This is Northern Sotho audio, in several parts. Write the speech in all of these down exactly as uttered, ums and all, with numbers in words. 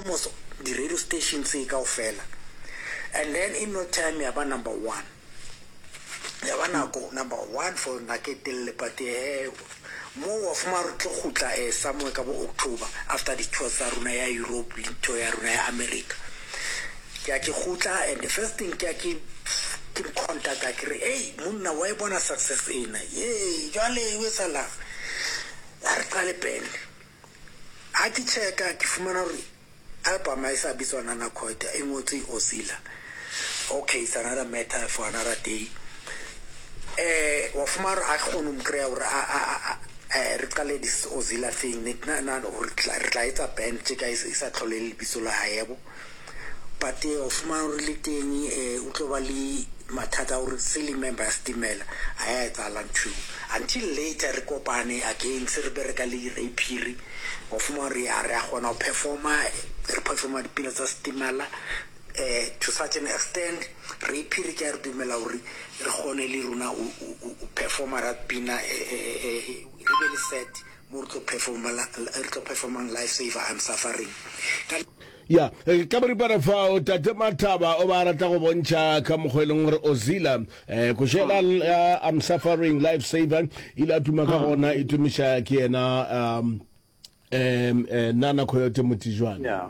Almost di-radio station tse kaofela. And then in no time ya ba number one. Ya ba nako number one for nako e telele, but eh, mo wa fumana re tlo kgutla eh, somewhere ka bo October after di-tour tsa rona ya Europe le tour ya rona ya America. Ke a ke kgutla, and the first thing ke a ke ke mo contacta, ke re, "Ei monna, wa e bona success ena ye? Jwale o etsahalang? A re qale band." Ha ke checka, ke fumana hore album ha e sa bitswa Nana Coita, e ngotswe Ozila. Okay, it's another matter for another day. eh wa fumana hore a kgone ho mo kry-a hore a- a- a- a- eh, re qale this Ozila thing. Ne ke nahana hore re tla etsa band tje ka e sa tlhole le lebitso la hae yabo, but eh, wa fumana hore le teng eh, o tlo ba le mathata a hore se le member ya Stimela. A ya etsahala ntho eo until later re kopane again, se re bereka le Ray Phiri. Wa fumana hore ya re a kgona ho performa, re performa dipina tsa Stimela eh to such an extent Ray Phiri ke a re dumela hore re kgone le rona o performa that pina, eh, eh, eh, re be le set mo re tlo performa, re tlo performang "Life Saver", "I'm Suffering" ka Ya ka boripana fao, Tate Mathaba o ba rata go bontšha ka mokgwa e leng gore Ozila um košela ya "I'm Suffering", "Life Saver" ile a tuma ka gona, e tumiša ke yena um um Nana Coyote Motijwane. Yeah.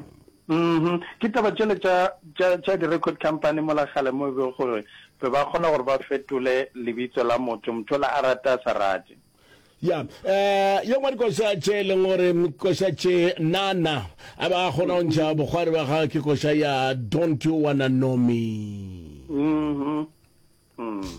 Mhm. Ke taba tšele tša tša tša di-record company mola kgale mo e be gore be ba kgona gore ba fetole lebitso la motho, motho ola a rata a sa rate. Ya um ye nngwe dikoša tše e leng gore koša tše Nana a ba kgona go ntšha bokgwari ba gagwe ke koša ya "Don't You Wanna Know Me". Mhm. Mm.